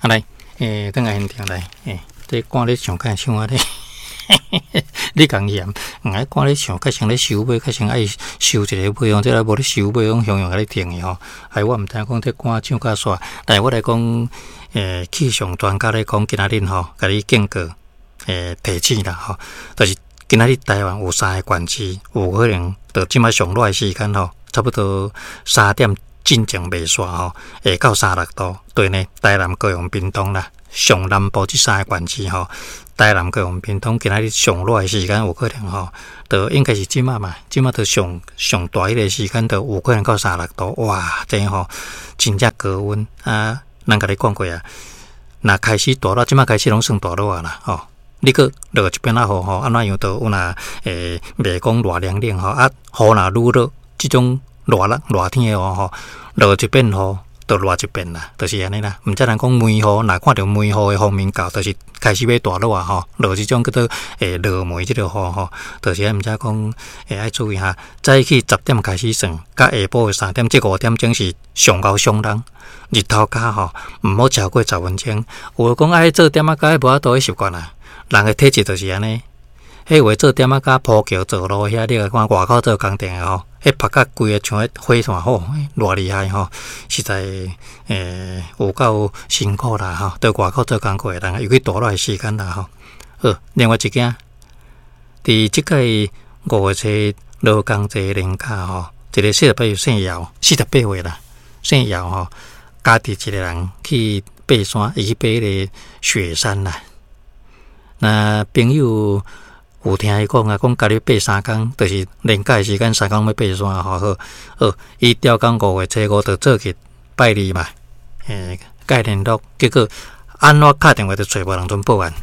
啊來，轉來現場來，這歌咧唱較像按呢，你共嫌，毋愛歌咧唱，較像咧收尾，較像愛收一个尾哦，這个無咧收尾，攏雄雄共你停去吼。哎，我毋知影講這歌唱甲煞，來我來講，氣象專家咧講，今仔日吼，共你警告，提醒啦吼，就是今仔日台灣有三个縣市有可能到這擺上熱的時間吼，差不多3點進前袂煞吼，會到36度。對呢，台南、高雄、屏東啦，上南部這三个縣市吼，台南、高雄、屏東今仔日上熱的時間有可能吼，就應該是這擺嘛，這擺就上上大彼个時間，就有可能到三六度，哇，這吼真正高溫啊！咱共你講過啊，若開始大熱，這擺開始攏算大熱啊啦，吼。你閣落一遍仔雨吼，按怎樣都有若袂講熱涼涼吼，啊雨若愈落，這種熱啦熱天的雨吼，落一遍雨就熱一遍啦，就是按呢啦。毋才人講梅雨，若看著梅雨的封面到，就是開始欲大落啊吼，落這種叫做落梅這个雨吼，就是毋知講愛注意哈。早起10點開始算，佮下晡的3點，這5點鐘是上𠢕上人。日頭跤吼，毋好超過10分鐘。有的講愛做點仔跤，無法度彼習慣啊。人的體質就是按呢，彼有的做點仔跤鋪橋做路遐，你來看外口做工程的吼，彼曝甲規个像彼火炭吼，偌厲害吼，實在有夠辛苦啦吼。佇外口做工課的人，尤其大熱的時間啦吼。好，另外一件，佇這屆5月初勞工節連假吼，一个48歲姓姚，48歲啦，姓姚吼，家己一个人去爬山，伊去爬彼个雪山啦。那朋友有聽伊講啊，講家己爬3工，就是連假的時間3工欲爬山吼。好，好，伊調工5月初5就做去拜二嘛，蓋聯絡，結果按怎敲電話都揣無人陣報案，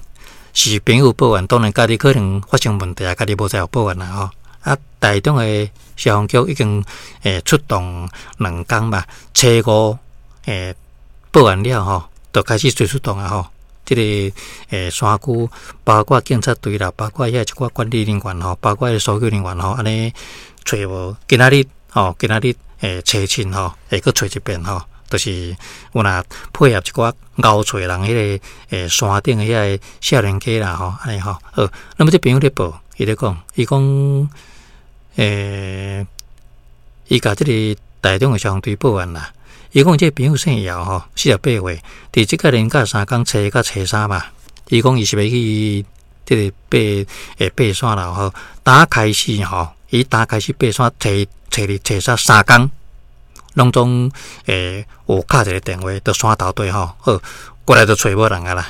是朋友報案，當然家己可能發生問題啊，家己無在乎報案啦吼。啊，台中的消防局已經出動2工嘛，初五報案了吼，就開始隨出動啊吼。這个山區，包括警察隊啦，包括遐一寡管理人員吼，包括搜救人員吼，按呢揣無。今仔日吼，今仔日初七吼，會閣揣一遍吼，就是有若配合一寡𠢕揣人彼个山頂的遐个少年家啦吼，按呢吼。好，那麼這朋友咧報，伊咧講，伊講伊共這个台中的消防隊報案啦。伊講這个朋友姓姚吼，48歲，佇這個連假3工，初一佮初三嘛。伊講伊是欲去這个爬山啦吼。打開始吼，伊打開始爬山，初一、初二、初三3工，攏總有敲一个電話佇山頭底吼，好，過來就揣無人啊啦。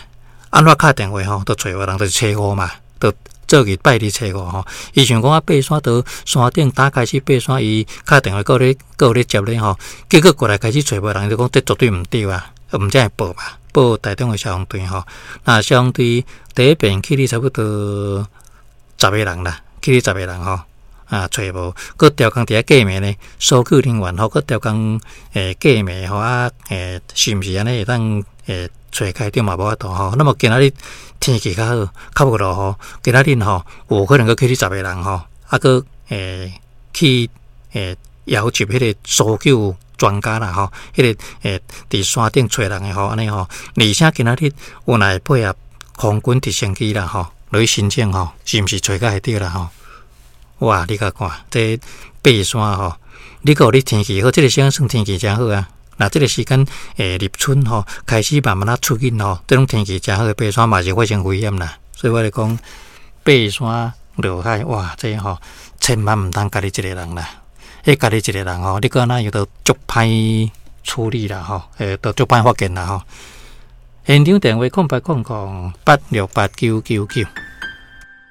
按怎敲電話吼，都揣無人，就是初五嘛，就做去拜二初五吼。伊想講啊，爬山佇山頂打開始爬山，伊敲電話閣有咧接咧吼，結果過來開始揣無人，就講這絕對毋對啊，毋才會報嘛，報台中的消防隊吼。那消防隊第一遍去哩差不多十個人啦，去哩十個人吼，啊，揣無，閣調工佇遐過暝呢，搜救人員吼，閣調工過暝吼啊，是毋是按呢會當揣開著嘛無法度吼。那麼今仔日天氣較好，較無落雨，今仔日吼有可能閣去哩十個人吼，啊，閣去邀集彼个搜救專家啦吼，彼个佇山頂揣人的吼，按呢吼，而且今仔日有若會配合空軍直升機啦吼，落去申請吼，是毋是揣較會著啦吼？哇！你共看，這爬山吼，你閣有你天氣好，這个時間算天氣誠好啊。若這个時間立春吼，開始慢慢仔出緊吼，這種天氣誠好的爬山嘛是發生危險啦。所以我咧講，爬山落海，哇！這吼千萬毋通家己一个人啦。彼家己一个人吼，你閣按怎樣都足歹處理啦吼，都足歹發現啦吼。現場電話0800868999。